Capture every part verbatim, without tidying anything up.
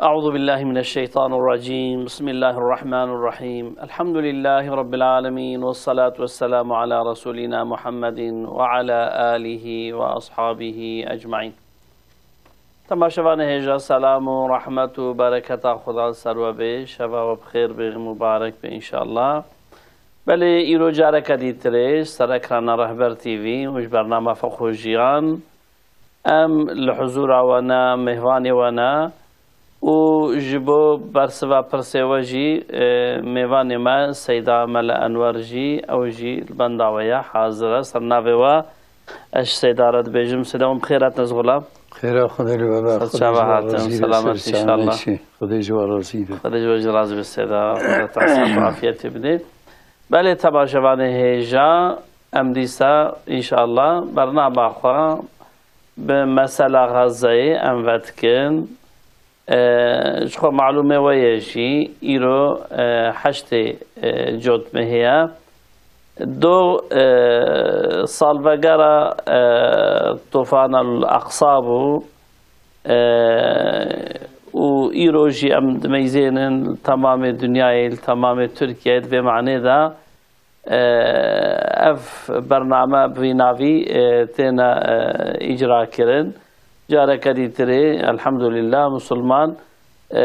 أعوذ بالله من الشيطان الرجيم. بسم الله الرحمن الرحيم. الحمد لله رب العالمين، والصلاة والسلام على رسولنا محمد وعلى آله وأصحابه أجمعين. Temaşevanê hêja, selam û rehmet û bereketa Xudan ser we bê. Şeva we bi xêr bê, mubarek bê înşallah. Belê, îro careke dîtirê ji ser ekrana Rehber T V û ji bernama Fiqh û Jiyan em li huzûra we ne, mêvanê we ne û ji bo bersiva pirsê we jî, e, mêvanê me Seyda Mele Enwer jî, ew jî li benda we ye, hazir e, ser navê we. Ez Seyda re dibêjim, Seyda, hûn bi xêr hatin, ez xulam. Xêra Xwedê li we be. Ser Xwedê çava ji we hatin, razî be, selamet ser çavê înşallah. Çi. Xwedê ji we razî be. Xwedê ji we jî razî be Seyda. Xwedê te sihet û afiyetê bide. Belê temaşevanê hêja, em dîsa înşallah bernama xwe bi mesela Xezeyê em vedikin. E, ji xwe malûmê we ye jî, îro, e, heştê, e, Cotmehê ye. Do, e, salvegera, e, Tufan el Aqsa bû. E, û îro jî em dimeyzênin li temamê dinyayê, li temamê Tirkiyeyê, di vê manê de, e, ev bername bi vî navî, e, têne, e, îcra kirin. Careke dîtirê, elhamdulillah, musulman, e,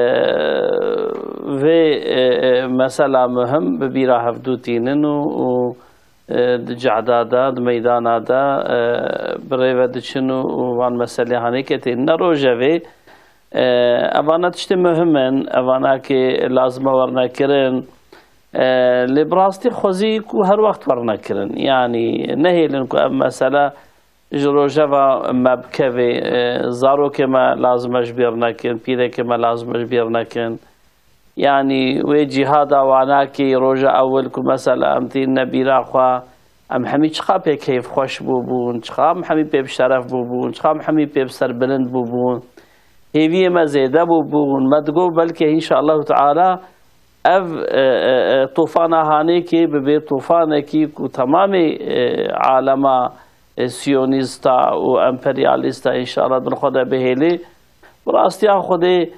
vê, e, e, mesela muhim bi bîra hevdû tînin û, û, e, di cehda de, di meydana de, e, bi rê ve diçin û, û van meselê hanêkê tênine rojevê. E, evana tiştê muhim in, evana ki lazim e werine kirin. E, lê bi rastî xwezî ku her wext werine kirin. Yanî nehêlin ku ev mesele ji rojeva me bikevê, e, zarokê me lazim e ji bîr nekin, pîrekê me lazim e ji bîr nekin. Yanî wê cîhada wanakê roja ewil ku mesela em tînine bîra xwe, em hemî çiqa pê keyfxweş bûbûn, çiqa em hemî pê bi şeref bûbûn, çiqa em hemî pê bi serbilind bûbûn. Hêviyê me zêde bûbûn. Me digot belkê înşallahu teala ev, e, e, e, tufana hanêkê bibe tufanekî ku temamê, e, alema, e, siyonîsta û emperyalîsta înşallah bin xwe de bihêlê. Bi rastiya Xwedê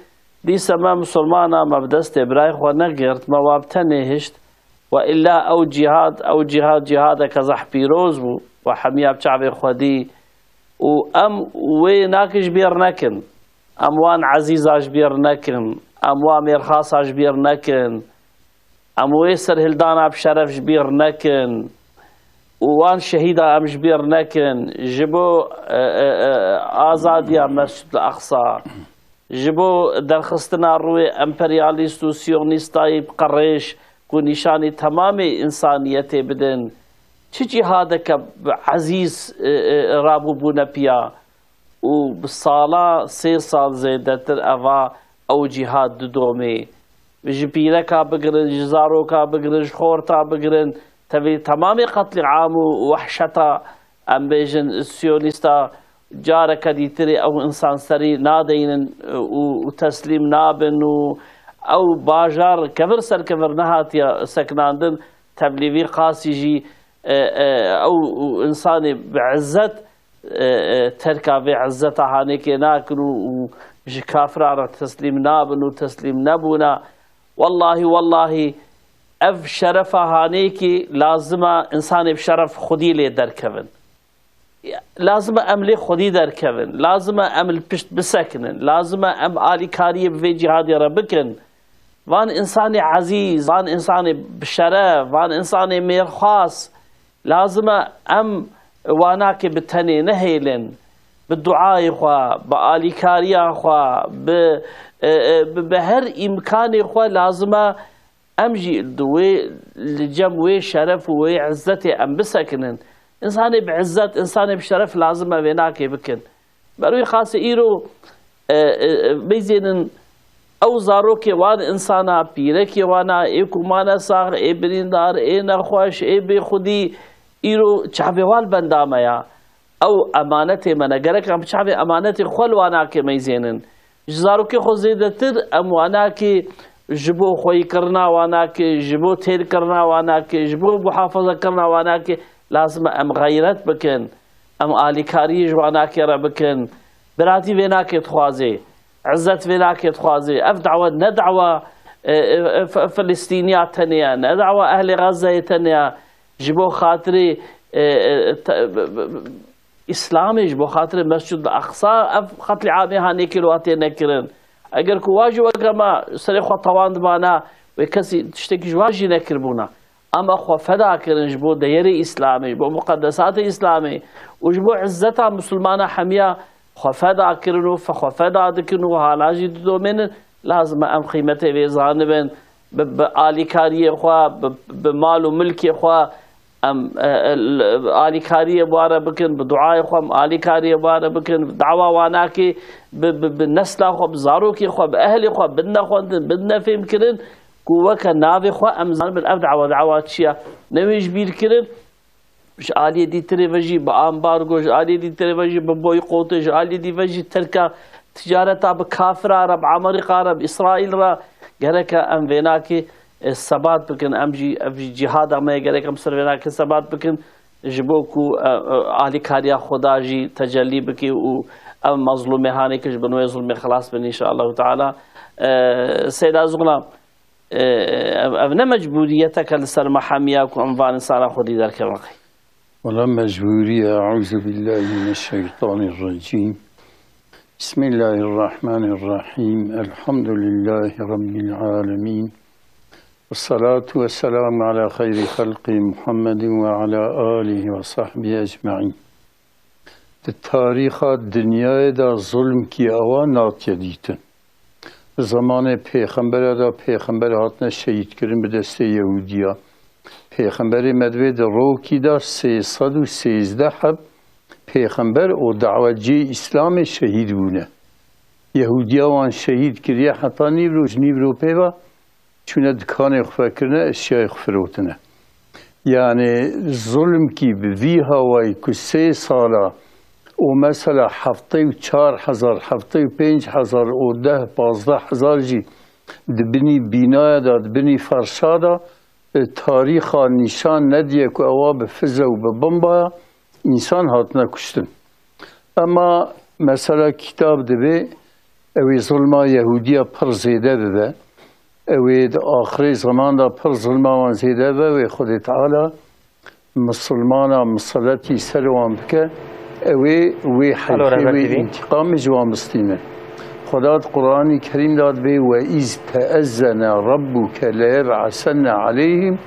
dîse me misilmana me bi destê birayê xwe negirt, me wa bi tenê hişt. We illa ew cîhad, ew cîhad, cîhadeke zehf pîroz bû. We hemiya bi çavê xwe dî. Û em wê nak ji bîr nekin. Em wan ezîza ji bîr nekin. Em wa mêrxasa ji bîr nekin. Em wê serhildana bi şeref ji bîr nekin. Û wan şehîda em ji bîr nekin. Ji bo, e, e, e, azadiya Mescid Aqsa, ji bo derxistina rûyê emperyalîst û siyonîstayî bi qerêj ku nîşanî temamê însaniyetê bidin, çi cîhadeke bi ezîz, e, e, rabûbûne piya û bi sala sê sal zêdetir eva ew cîhad didomê. Ji pîreka bigirin, ji zaroka bigirin, ji xorta bigirin, tevî temamê qetlîam û wehşeta, em bêjin, siyonîsta careke dîtirê ew însan serî nadeynin û, û teslîm nabin û ew bajar kevir ser kevir nehatiye sekinandin, tevlî vî qasî jî, e, e, ew însanê bi izzet, e, e, terka vê izzeta hanêkê nakin û, û ji kafiran re teslîm nabin û teslîm nebûna. Wellahî, wellahî, ev şerefa hanêkî lazim e însanê bi şeref xwedî lê derkevin. Lazim e em lê xwedî derkevin. Lazim e em li pişt bisekinin. Lazim e em alîkariyê bi vê cîhadê re bikin. Van însanê ezîz, van însanê bi şeref, van însanê mêrxas, lazim e em wanakê bi tenê nehêlin. Bi duayê xwe, bi alîkariya xwe, bi, e, e, bi, bi her îmkanê xwe lazim e em jî di wê, li cem wê şeref û wê izzetê em bisekinin. Însanê bi izzet, însanê bi şeref lazim e vê nakê bikin. Ber wî xasê îro, e, e, e, bêzênin ew zarokê wan însana, pîrekê wana, ê ku mane sax, ê birîndar, ê nexweş, ê bêxwedî, îro çavê wan benda me ya. Ew emanetê me ne. Gerek em bi çavê emanetê xwe li wanakê meyzênin. Ji zarokê xwe zêdetir em wanakê ji bo xweyîkirina wanakê, ji bo têrkirina wanakê, ji bo muhafazekirina wanakê lazim e em xeyret bikin. Em alîkariyê ji wanakê re bikin. Biratî vê nakê dixwazê. izzet vê nake dixwaze. Ev dawa ne dawa, e, e, F-, Filistîniya tenê ye, ne dawa ehlê Xezzeyê tenê ye. Ji bo xatirê, e, e, te-, b-, b-, b-, Îslamê, ji bo xatirê Mescid Aqsa ev qetlîamê hanê kir û hatê nekirin. Eger ku wa jî weke me serê xwe tewandibana, wê kesî tiştekî ji wa jî nekiribûna. Em xwe feda kirin ji bo deyerê Îslamê, ji bo muqedesatê Îslamê û ji bo izzeta Misilmana hemiya xwe feda kirin û fe-, xwe feda dikin û hala jî didomênin. Lazim e em qîmetê vê zanibin, bi, bi alîkariyê xwe, bi, bi mal û milkê xwe em, e, e, l-, alîkariyê bi wa re bikin, bi duayê xwe em alîkariyê bi wa re bikin, dawa wan nake, bi, bi, bi nesla xwe, bi zarokê xwe, bi ehlê xwe bidine xwendin, bidine fêmkirin, ku weke navê xwe em zanibin ev dawa, dawa çi ye? Ne wê ji bîr kirin, ji aliyê dîtirê ve jî bi ambargo, ji aliyê dîtirê ve jî bi boykotê, ji aliyê dî ve jî terka ticareta bi kafira re, bi Amerîka re, bi Îsraîl re, gereke em vênakê, e, sebat bikin, em jî, ev jî cîhada me ye, gerek em ser vênakê sebat bikin, ji bo ku, e, e, alîkariya Xweda jî tecellî bike û ev mezlûmê hanê ke ji bin wê zulmê xilas bin, înşaallahu teala. E, Seyda Zûna, e, ev, ev ne mecbûriyeteke li ser me hemiya ku em van însana xwedî derkevin qey? Wela mecbûrî ye. Eûzubillahimineşşeytanirrecîm. Bismillahirrahmanirrahîm. Elhamdülillahî Rabbil âlemîn. Vessalatu vesselamu ala xeyrî xelqî Muhammedin ve ala alihi ve sahbihi ecmaîn. Di tarîxa dinyayê de zulmkî ewa natiye dîtin. Di zemanê pêxembere de pêxember hatine şehîdkirin bi destê Yehûdiya. Pêxemberê me divê di rokî de sê sed û sêzdeh heb pêxember û dawetciyê Îslamê şehîd bûne. Yehûdiya wan şehîd kiriye heta nîvro, ji nîvro pê ve çûne dikanê xwe vekirine, eşyayê xwe firotine. Yanî zulmkî bi vî hawayî ku sê sala û mesela heftê û çar hezar, heftê û pênc hezar û deh, pazdeh hezar jî di binî bînaya de, di binî ferşa de, e, tarîxa nîşan nediye ku ewa bi fize û bi bombaya însan hatine kuştin. Ema mesela kîtab divê ew ê zulma Yehûdiya pir zêde bibe. Ew ê di axirê zeman de pir zulma wan zêde bibe, wê Xwedê Teala misilmana miseletî ser wan bike, ew ê wê heyfê, wê întîqamê ji wan bistîne. Xweda di Quranî Kerîm de divê, "Ve iz teezzene rabbuke leyeb'asenne aleyhim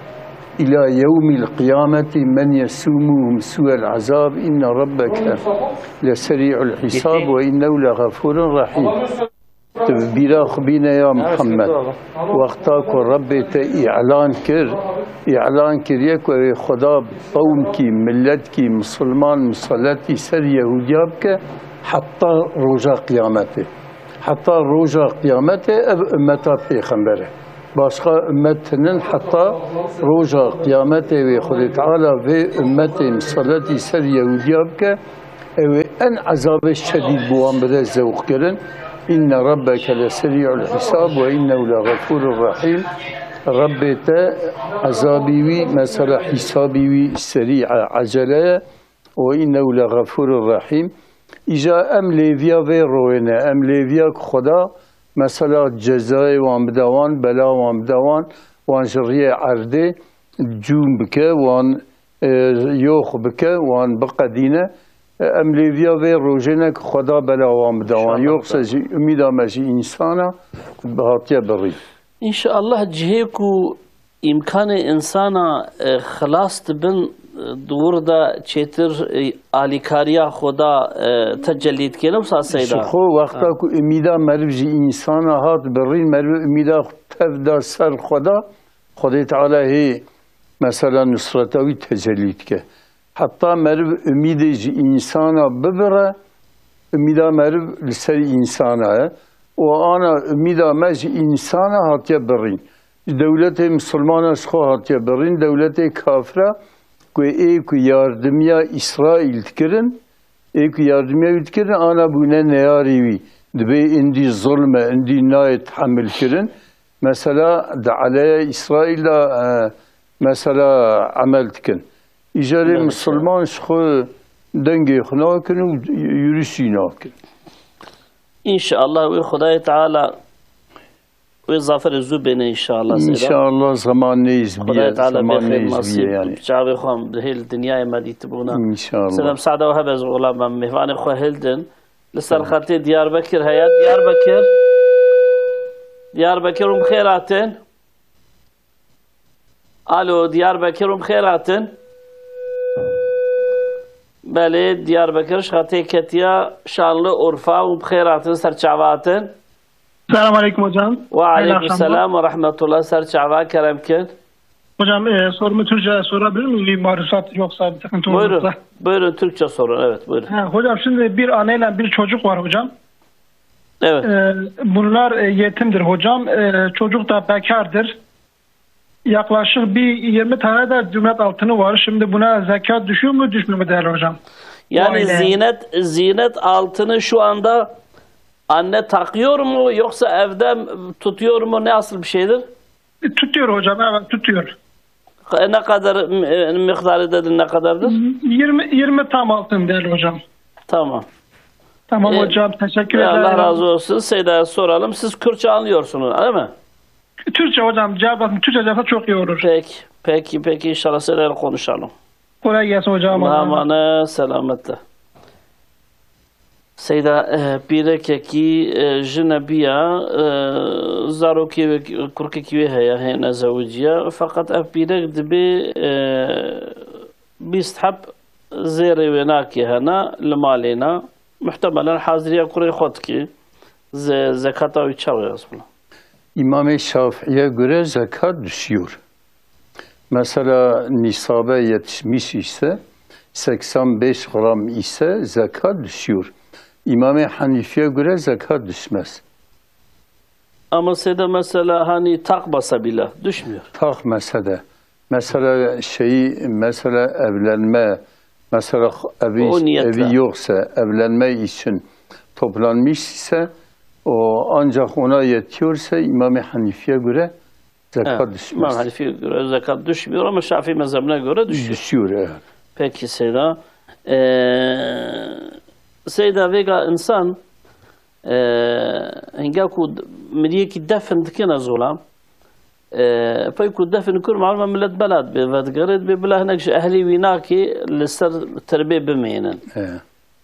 ila yewmil qiyameti men yesumuhum su'el azab inne rabbeke leserî'ul hisab ve innehu leğafurun rahîm." Tu bi bîra xwe bîne ya Muhammed. Wexta ku Rebbê te îlan kir, îlan kiriye ku ew ê Xweda qewmkî, milletkî, misilman, miseletî ser Yehûdiya bike heta roja qiyametê. Heta roja qiyametê ev ummeta pêxember e. Başqa ummet tinin heta roja qiyametê wê Xwedê Teala vê ummetê miseletî ser Yehûdiya bike, ew ê en ezabê şedîd bi wan bide zewq kirin. Înne rabbeke leserî'ul hisab ve înnehu leğefûrur rahîm. Rebbê te ezabî wî, mesela hîsabî wî serî e, ecele ye. Ve înnehu leğefûrur rahîm. Îja em lêviya vê royê ne, em lêviya ku Xweda mesela cezayê wan bide wan, bela wan bide wan, wan ji riyê erdê cûm bike, wan e, yox bike, wan biqedîne. E, em lêviya vê rojê ne ku Xweda bela wan bide wan. Înşallah. Yoksa jî umîda me ji însana hatiye birîn. Înşallah cihê ku îmkanê însana, e, xilas dibin, e, di wir de çêtir, e, alîkariya Xweda, e, tecellî dike, ne wisa Seyda? Ji xwe wexta Ha. ku umîda meriv ji însana hat birîn, meriv umîda tev da ser Xweda, Xwedê Teala hê mesela nusreta wî tecellî dike. Heta meriv umîdê ji însana bibire, umîda meriv li ser însana ye. Û ana umîda me ji însana hatiye birîn. Ji dewletê misilmana ji xwe hatiye birîn, dewletê kafira ku ê ku yardimiya Îsraîl dikirin, ê ku yardimiya wî dikirin, ana bûne neyarê wî. Dibê indî zulm e, indî nayê tehemil kirin. Mesela di eleya Îsraîl de, e, mesela emel dikin. Îcarê Evet. misilman ji xwe dengê xwe nakin û yürüş jî nakin. İnşallah wê Xwedayê Teala wê zaferê zû bêne inşallah Seyda. İnşallah zaman neyz Xwedayê biye, Teala zaman bê xêr neyz biye nasîb yani. Çavê xwe em di hêl dinyayê me dîtibûna. İnşallah. Seyda, müsaade we hebe ez ola me mêvanê xwe hildin. Li ser xetê Diyarbekir heye. Diyarbekir. Diyarbekir hûn bi xêr hatin. Alo, Diyarbekir hûn bi xêr hatin. Belê, Diyarbekir ji xetê ketiya Şanlıurfa û bi xêr hatin ser çava hatin. Selam aleyküm hocam. Ve Hayırlı aleyküm akşamlar. Selam ve rahmetullah, ser çava kerem kin. Hocam, e, sorumu Türkçe sorabilir miyim? Bir maruzat yoksa bir sıkıntı Buyurun, olursa. Buyurun Türkçe sorun. Evet, buyurun. Ha, hocam şimdi bir anneyle bir çocuk var hocam. Evet. E, bunlar, e, yetimdir hocam. E, çocuk da bekardır. Yaklaşık bir yirmi tane de ziynet altını var. Şimdi buna zekat düşüyor mu, düşmüyor mu değerli hocam? Yani aile. Ziynet, ziynet altını şu anda anne takıyor mu yoksa evde tutuyor mu? Ne asıl bir şeydir? Tutuyor hocam, evet tutuyor. E, ne kadar, e, miktarı dedin, ne kadardır? Yirmi, yirmi tam altın değerli hocam. Tamam. Tamam E, hocam, teşekkür e, Allah ederim. Razı olsun. Seyda'ya soralım. Siz Kürtçe anlıyorsunuz, değil mi? Türkçe hocam, cevap, Türkçe cevap çok iyi olur. Peki, peki, peki. İnşallah Seyda'yla konuşalım. Kolay gelsin hocam. Allah'a emanet, selametle. Seyda, e, pîrekekî, e, jine biya, e, zarokê wê, kurkekî wê heye, hêne zewiciya. Feqet ev pîrek dibê, e, bîst heb zêrê wê nakê hene li malê ne. Muhtemelen haziriya kurê xwe dikê. Ze-, zekata wî çawa ye, Resûlullah? İmamê Şafii'ye göre zekat düşüyor. Mesela nisabe yetişmiş ise, seksen beş gram ise zekat düşüyor. İmam-ı Hanifi'ye göre zekat düşmez. Ama Seyda mesela hani tak basa bile düşmüyor. Tak mesele. Mesela şeyi, mesela evlenme, mesela evi, O niyetle. evi yoksa, evlenme için toplanmış ise, o ancak ona yetiyorsa İmam-ı Hanifi'ye göre zekat Ha, düşmez. İmam Hanefi'ye göre zekat düşmüyor ama Şafii mezhebine göre düşüyor. Düşüyor, evet. Peki Seyda. Ee, Seyda, vêga insan, ee, hinga ku d-, miriyekî defin dikine zolam, ee, pey ku defin kur malum millet belat bê, vedigerê bê bila hinek ji ehlî wî nakê li ser tirbê bimênin. Evet.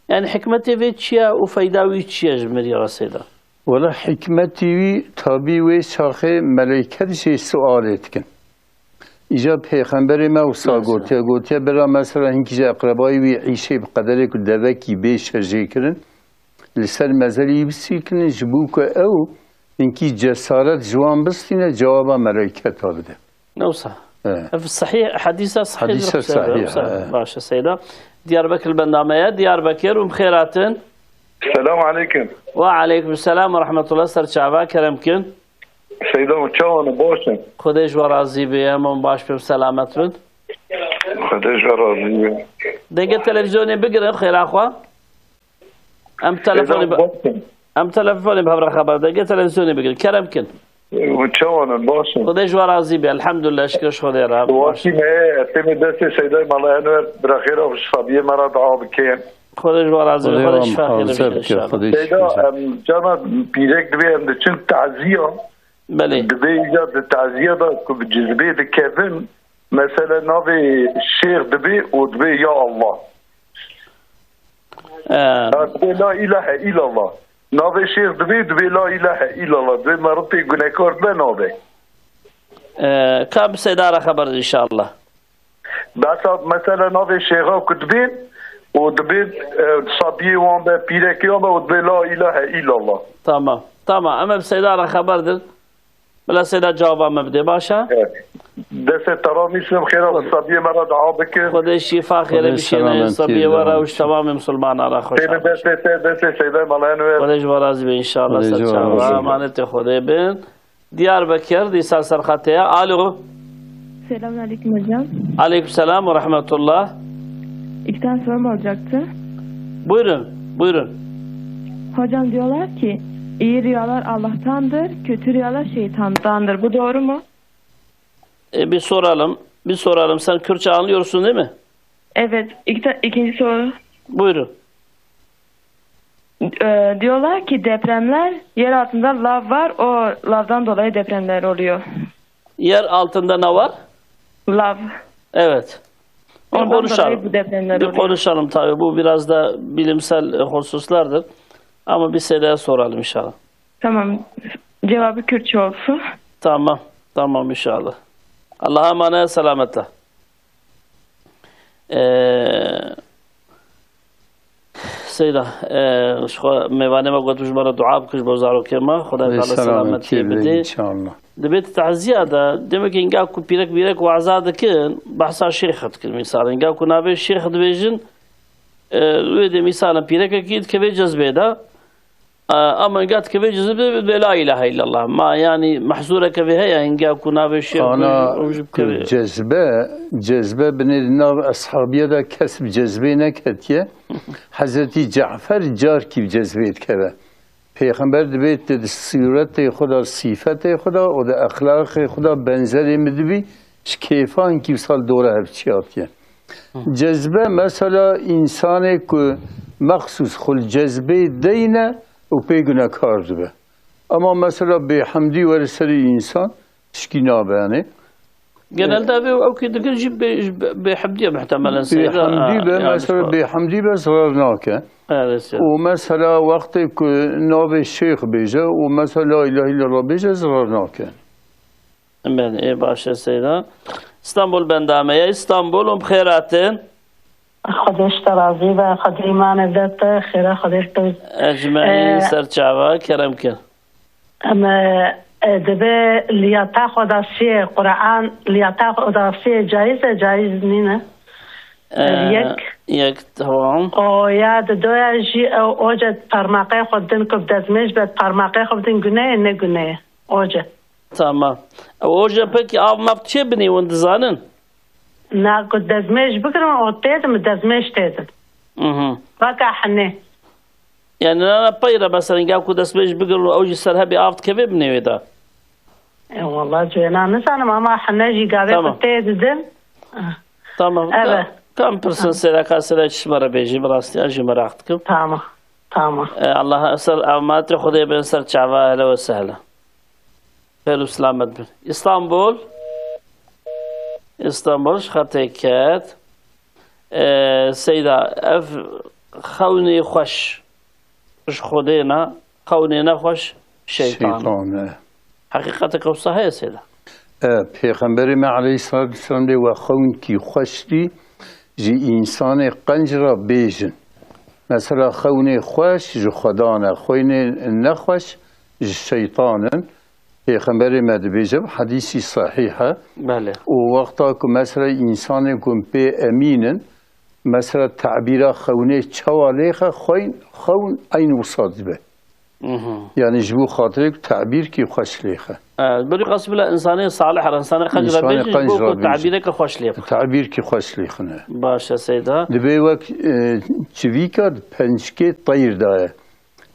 Yani hikmetê vê çi ye û feyda wî çi ye ji mirî re Seyda? Wela hikmetî wî tabî wê çaxê meleyket jê sualê dikin. Îca pêxemberê me wisa Mesela. gotiye, gotiye bira mesela hinkî ji eqrebayî wî îşê bi qederê ku devekî bê şejê kirin, li ser mezelî wî bisî kirin, ji bo ku ew hinkî cesaret ji wan bistîne, cewaba meleyketa bide. Ne wisa? Evet. Ev sahih, hadîsa sahih Hadîsa sahih, evet. Baş e Seyda. Diyarbekir bendame ye. Diyarbekir û bi xêr hatin. Selam aleyküm. Ve aleyküm selam ve rahmetullah. Ser çava kerem kin. Seyda, çawan e, baş e? Xwedê ji we razî be, em baş bin, selamet bin. Xwedê ji we razî be. Dengê televizyonê bigirin, xêra xwe. Em telefonê Seyda, bi-, baş e. Em telefonê bi hev re xeber de, dengê televizyonê bigirin. Kerem kin. Û çawan e, baş e? Xwedê ji we razî be. Elhamdulillah, şikir ji Xwedê re. Baş. Wekî me, ez têmê destê Seydayê Mala Enwer, bira xêra xwe ji sabiyê me re dua bike. Xwedê ji we razî be. Xwedê Xwedê we şifa xêr muhafaza bike bike, inşallah. Xwedê Seyda, şifa. Em, cana pîrek dibê em diçin taziya. Belê. Dibê îca di taziya de ku bi cizbê dikevin, mesela navê şêx dibê û dibê ya Allah. Ee, Ha, dibê la ilahe illallah. Navê şêx dibê, dibê la ilahe illallah. Dibê meritê gunekar dibe nabe. Ee, ka bi Seyda re xeber de inşallah. Besa mesela navê şêxa ku dibên û dibên, e, sabiyê wan be, pîrekê wan be û dibê la ilahe illallah. Tamam. Tamam. Em ê bi Seyda re xeber din. Bila Seyda cevaba me bide, baş e? Evet. Destê te ra nîsim, xêra Xwedê. Sabiyê me re dua bikin. Xwedê şîfa xêrê Xwedê bişêne, selametî sabiyê we re û ji temamê misilmana re xweş Têne be. Destê te, destê Seyda Mala Enwer. Xwedê ji we razî be inşallah, Xwedê ser ji we çava. Razî be. Emanetê Xwedê bin. Diyarbekir, dîsa ser xetê ye. Alo. Selamun aleyküm hocam. Aleyküm selam ve rahmetullah. İki tane sorum olacaktı. Buyurun, buyurun. Hocam diyorlar ki iyi rüyalar Allah'tandır, kötü rüyalar şeytandandır. Bu doğru mu? E, bir soralım, bir soralım. Sen Kürtçe anlıyorsun değil mi? Evet, iki ta-, ikinci soru. Buyurun. Ee, diyorlar ki depremler yer altında lav var, o lavdan dolayı depremler oluyor. Yer altında ne var? Lav. Evet. Bir Ondan konuşalım. Dolayı bu depremler Bir oluyor. Konuşalım tabii. Bu biraz da bilimsel e, hususlardır. Ama bir Seyda'ya soralım inşallah. Tamam. Cevabı Kürtçe olsun. Tamam. Tamam inşallah. Allah'a emanet, selametle. Ee, Seyda, e, ji xwe mêvanê me got, ji me re dua bike ji bo zarokê me, Xwedayê Teala selametiyê bide. İnşallah. Dibê di taziya de, demek ki hinga ku pîrek pîrek waza dikin, behsa şêx dikin. Mîsal, hinga ku navê şêx dibêjin, e, wê dê mîsal pîrekekî dikeve cezbê de, e, ama hinga dikeve cezbê de, dibê la ilahe illallah. Ma yani mehzûreke vê heye, hinga ku navê şêx Ana dibêjin, ew jî ku bikeve. Cezbe, cezbe binê di nav eshabiye de kes bi cezbê neketiye. Hezretî Cafer carkî bi cezbê dikeve. Pêxember dibê tu di sûretê xwe de, sîfetê xwe de û di exlaqê xwe de benzerê min dibî, ji kêfankî wisa li dora hev çiyatiye. Cezbe mesela însanê ku mexsûs xwe li cezbê deyne û pê gunekar dibe. Ama mesela bêhemdî were serê însan tişkî nabe yanê. Genelde ev ew ki dikin jî bê- ji bê- bêhemdiye muhtemelen seyda. Bêhemdî be, Yani mesela işte. Bêhemdî be zarar nake. Evet, evet. Û mesela wextê ku navê şêx bêje û mesela la ilahe illallah bêje zarar nake. Ben, e, baş e seyda. İstanbul bendame ya. İstanbul, um xêratin. Xwedê ji te razî be, Xwedê îmanê bide te, xêra Xwedê bi te. Ecmaîn Ee, ser çava kerem kir. Em e, e, dibe liyata xwedasiyê, Quran liyata xwedasiyê caiz e, caiz nîne? Ee, Yek. Yek, tamam. O ya di doya jî ew oce parmaqê xwe din ku bi dezmêj be parmaqê xwe bidin guneyê ne guneyê? Oce. Tamam. Oce peki av mav çê binê win dizanin? Na ku dezmêj bigirin o têdin, bi dezmêj têdin. Mhm. Vaka henê. Yani nana peyre mesela gel ku destmêj bigirin ew jî ser hebî av dikeve binê wê de. E, wala cêna nizanim ama hene jî gavê Tamam. Ku tê didin. Tamam. Evet. Kam pirsin seyda ka seyda çi ji me re bêjî, bi rastî ez jî meraq dikim. Tamam. Tamam. E, Allah ser emanetê Xwedê bin ser çava hele ve sehle. Pêr û selamet bin. İstanbul. İstanbul ji xetê ket. E, seyda ev xewnê xweş ji Xwedê ne, xewnê nexweş şeytan. Şeytan e. Heqîqeteke wisa heye seyda. E, Pêxemberê me aleyhissalatu vesselam dê we xewn kî xweş dî ji însanê qenc re bêjin. Mesela xewnê xweş ji Xwedan e, xewnê nexweş ji şeytan in. Pêxemberê me dibêje bi hedîsî sehîh e. Belê. Û wexta ku mesela însanê ku pê emîn in, mesela tebîra xewnê çawa lêxe, xewn, xewn eyn wisa dibe. Mhm. Yani ji bo xatirê ku tebîr kî xweş lêxe. E, berî qasî bila insanê salih re, insanê qenc re Însanê bêjin, qenc bo re ku bêjin. tebîreke xweş lê bixin. Tebîr kî xweş lêxine. Baş e seyda. Dibê wek e, çivîka di pençikê teyr daye.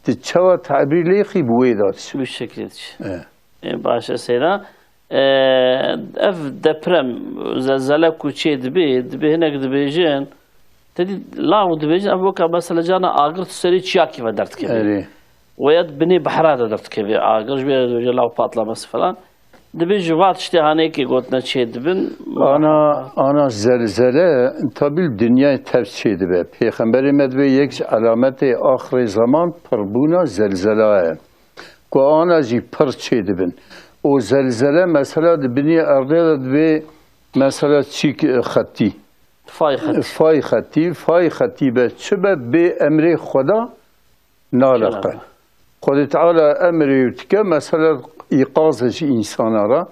Tu çawa tebîr lêxî bi wê de diçe. Bu şekilde diçe. E. E, baş e seyda. E, ev deprem, zelzele ku çê dibê, dibê hinek dibêjin, te dî law dibêjin, ev weka mesela cana agir tu serê çiyakî ve derdikeve. Erê. Weya di binê behra de derdikeve agir, ji bê re dibêje law patlaması falan. Dibê ji va tiştê hanekê gotine çê dibin. Ana, ana zelzele tabi li dinyayê tev çê dibe. Pêxemberê me dibê yek ji alametê axirê zeman pirbûna zelzela ye. Ku ana jî pir çê dibin. Û zelzele mesela di binê erdê de dibê mesela çîk e, xetî. Fay xetî. Fay xetî, fay xetî be çi be bê emrê Xweda naleqe. Xwedê Teala emrê dike mesela îqaze ji însana re.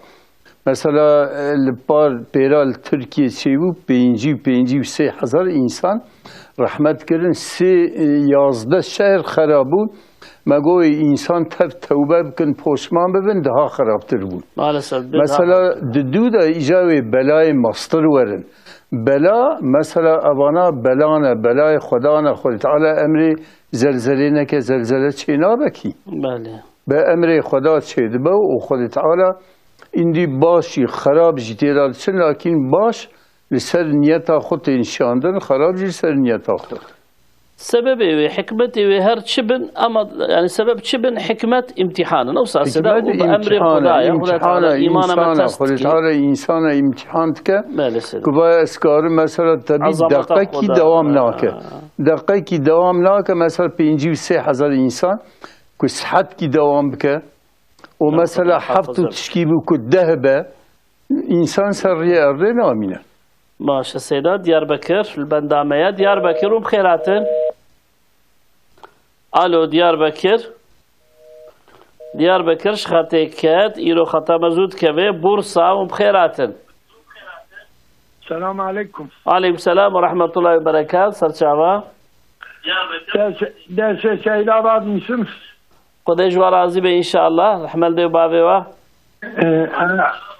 Mesela e, li par pêra li Tirkiye çêbû pêncî, pêncî û sê hezar însan rehmet kirin. Sê e, yazdeh şehr xera bûn. Me goyê însan tev tewbe bikin, poşman bibin, daha xerabtir bûn. Maalesef. Mesela di dû de îca wê belayê mastir werin. Bela, mesela evana bela ne, belayê Xweda ne, Xwedê Teala emrê zelzelê neke, zelzele çê nabe kî. Belê. Be emrê Xweda çê dibe û Xwedê Teala îndî baş jî, xerab jî tê de diçin, lakîn baş li ser niyeta xwe tên şandin, xerab jî li ser niyeta xwe. Sebebê wê, hikmetê wê her çi bin, ama yani sebep çi bin, hikmet imtihan in. Wisa sida Hikmet û bi emrê imtihan e, Xwedayê, Xwedê imtihan Teala e, îmana me insana, test Xwedê dikî. Teala însana imtihan dike. Belê, seyda. Ku vaya ez karim mesela tebî Ezameta deqekî Xweda. dewam nake. Ha. Deqekî dewam nake, mesela pêncî û sê hezar însan ku sihetkî dewam bike. Û Deqekî mesela heft û muhafaza tişkî bû ku deh be, însan ser riyê erdê namîne. Baş e, seyda, Diyarbekir, li benda me ye. Diyarbekir û bi xêr hatin. Alo, Diyarbekir. Diyarbekir ji xetê ket, îro xeta me zû dikeve. Bursa û bi xêr hatin. Selamun aleyküm. Aleyküm selam ve rahmetullahi ve berekat. Serçava. Ders, derse seyda radmişim. Xwedê ji we razî be înşallah. Rehmel dê û bavê we. Ee, e,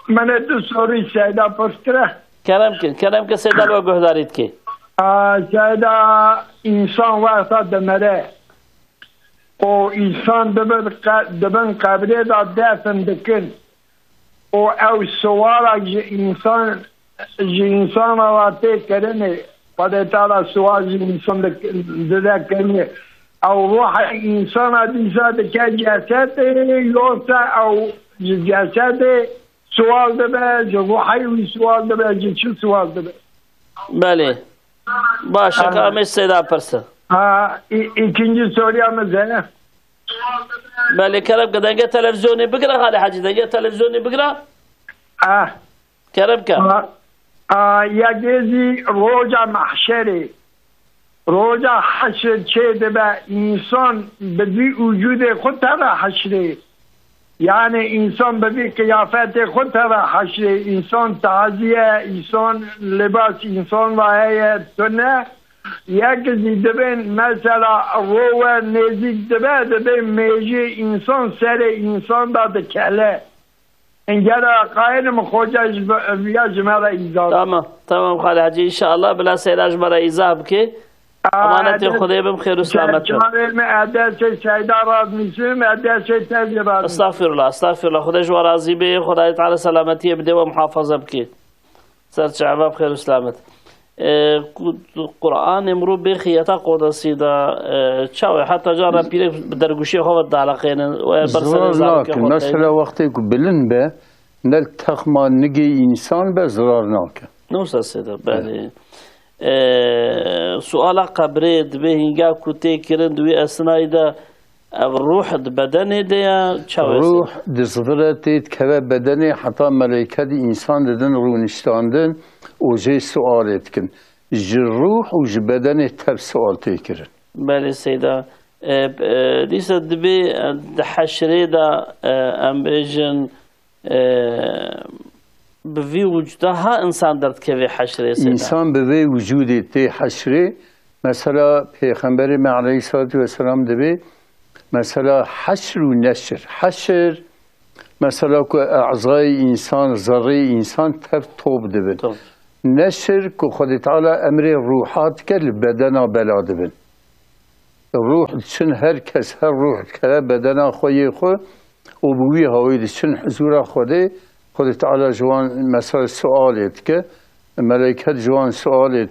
mene du soru seyda pirskire. Kerem kin, kerem kin seyda li we guhdarî dike. Aa, seyda insan wexta demere. O insan dibin, qe- dibin qebrê de defin dikin. O ew suala ji insan, ji insana ve tê kirinê. Xwedê Teala sual ji insan dik- dide kirinê. Ew ruhê insana dîsa dike cesedê, yoksa ew ji cesedê sual dibe, ji ruhê wî sual dibe, ji çi sual dibe? Belê. Baş e, ka Aha. em ê seyda pirsin. Ha, i- ikinci soruya mı zene? Belê, kerem ke dengê televîzyonê bigire, Xalê Hecî, dengê televîzyonê bigire. Ah. Kerem ke. A, a, ya gezî roja mahşerê. Roja heşr çê dibe, însan bi vî wicûdê xwe teve heşrê. Yani însan bi vî qiyafetê xwe teve heşrê. Însan tazî ye, însan libas, însan ve heye tune. Yek zî dibên mesela rowe nêzîk dibe, dibê mêjê însan serê însan de dikele. Engera qayîlim xoca ji be-, viya ji me re îzah. Tamam, tamam Xalê Hecî, înşallah bila seyda ji me re îzah bike. Aa, Emanetê ede-, Xwedê bim, xêr û selamet bin. Çavê me edesê seyda radmîsim, edesê te jî radmîsim. Estağfirullah, estağfirullah. Xwedê ji we razî be, Xwedayê Teala selametiyê bide we, muhafaza bike. Ser çava bi xêr û selamet. E, ku-, Qur'anê mirov bê xiyeta qodesî de, e, çawa heta cara pîrek bi dergûşiyê xwe ve dieleqênin, we berserê Zirar zarokê nakin. xwe Mesela teynin. wextê ku bilind be, ne li texma nigê însan be, zirar nake. Ne wisa seyda, belê. E, suala qebrê dibê hînga ku tê kirin di wî esnayî de ev ruh di bedenê de ya, çawa Ruh seyda? di zivire tê dikeve bedenê heta meleyke di însan didin rûniştandin û jê sualê dikin. Ji ruh û ji bedenê tev sual tê kirin. Belê seyda. E, e, dîsa dibê, e, di heşrê de, e, em bêjin, e, bi vî wicûda ha insan derdikeve heşrê seyda. Însan bi vê wicûdê tê heşrê. Mesela Pêxemberê me aleyhissalatu vesselam dibê, mesela heşr û neşr. Heşr, mesela ku ezayê însan, zerrê însan tev top dibin. Top. Neşr ku Xwedê Teala emrê ruha dike li bedena bela dibin. Ruh diçin, her kes, her ruh dikeve bedena xwe yê xwe û bi wî hawî diçin huzûra Xwedê. Xwedê Teala ji wan mesela sualê dike. Meleyket ji wan sualê